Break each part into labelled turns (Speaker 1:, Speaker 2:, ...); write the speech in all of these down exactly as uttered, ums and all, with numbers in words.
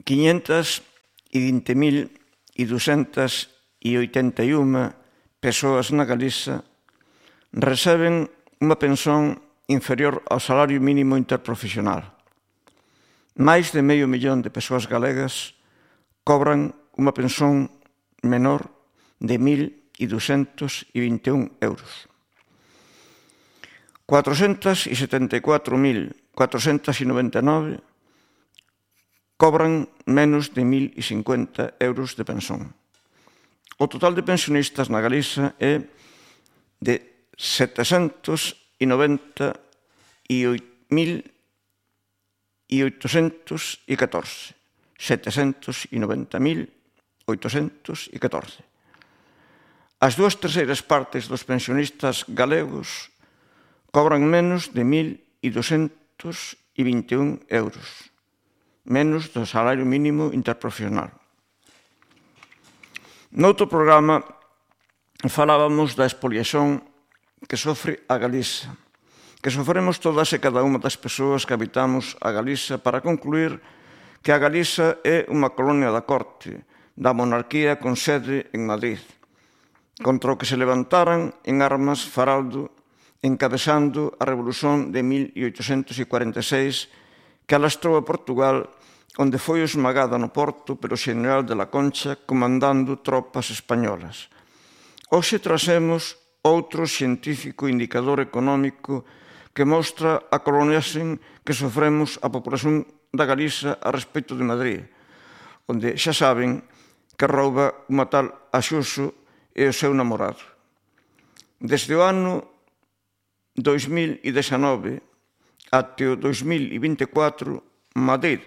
Speaker 1: quinhentas e vinte mil ducentas e oitenta e unha persoas na Galiza receben unha pensión inferior ao salario mínimo interprofesional. Máis de medio millón de persoas galegas cobran unha pensión menor de mil ducentos e vinte e un euros. cuatrocentos e setenta e catro mil cuatrocentos e noventa e nove cobran menos de mil cincuenta euros de pensión. O total de pensionistas na Galiza é de setecentos e noventa e oito mil oitocentos e catorce. setecentos e noventa mil oitocentos e catorce. As dúas terceiras partes dos pensionistas galegos cobran menos de mil ducentos e vinte e un euros, menos do salario mínimo interprofesional. Noutro programa falábamos da expoliación que sofre a Galiza, que sofremos todas e cada unha das persoas que habitamos a Galiza, para concluir que a Galiza é unha colonia da corte, da monarquía con sede en Madrid, contra o que se levantaran en armas Faraldo, encabezando a Revolución de mil oitocentos e cuarenta e seis que alastrou a Portugal, onde foi esmagada no Porto pelo xeneral de la Concha comandando tropas españolas. Hoxe trazemos outro científico indicador económico que mostra a coloniaxe que sofremos a populación da Galiza a respecto de Madrid, onde xa saben que rouba unha tal Axuso e o seu namorado. Desde o ano dois mil dezanove até o dois mil vinte e catro, Madrid,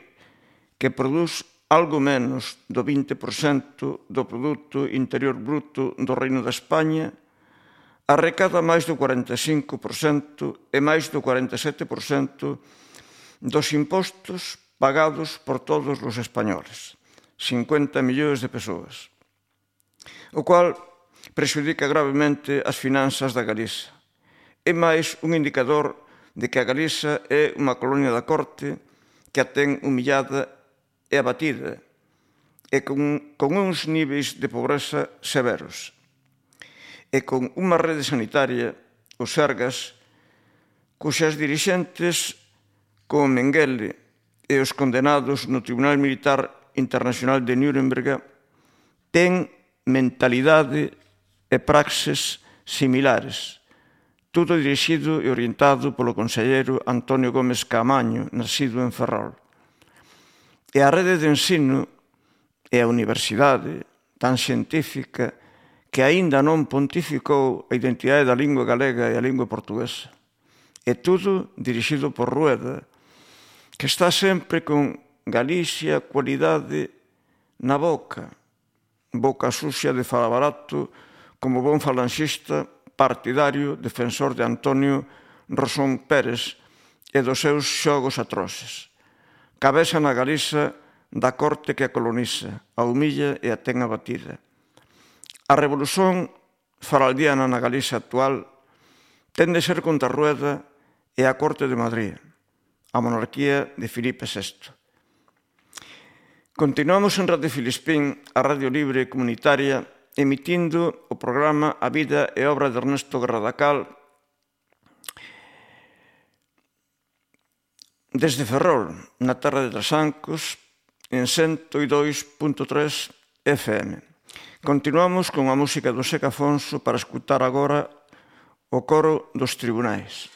Speaker 1: que produz algo menos do vinte por cento do Produto Interior Bruto do Reino de España, arrecada máis do cuarenta e cinco por cento e máis do cuarenta e sete por cento dos impostos pagados por todos os españoles, cincuenta millóns de persoas, o cual prexudica gravemente as finanzas da Galiza. É máis un indicador de que a Galiza é unha colonia da corte que a ten humillada e abatida, e con, con uns níveis de pobreza severos, e con unha rede sanitaria, o Sergas, cuxas dirixentes, como Mengele e os condenados no Tribunal Militar Internacional de Nuremberg, ten mentalidade e praxes similares, tudo dirixido e orientado polo conselleiro Antonio Gómez Caamaño, nacido en Ferrol. E a rede de ensino e a universidade tan científica que aínda non pontificou a identidade da lingua galega e a lingua portuguesa. E tudo dirixido por Rueda, que está sempre con Galicia, cualidade na boca, boca sucia de fala barato, como bon falanxista, partidario, defensor de Antonio Rosón Pérez e dos seus xogos atroces. Cabeza na Galiza da corte que a coloniza, a humilla e a ten abatida. A revolución faraldiana na Galiza actual ten de ser contra Rueda e a corte de Madrid, a monarquía de Filipe sexto. Continuamos en Radio Filispín, a Radio Libre Comunitaria, emitindo o programa A Vida e Obra de Ernesto Garradacal desde Ferrol, na terra de Trasancos, en cento e dous punto tres F M. Continuamos con a música do Seca Afonso para escutar agora o coro dos tribunais.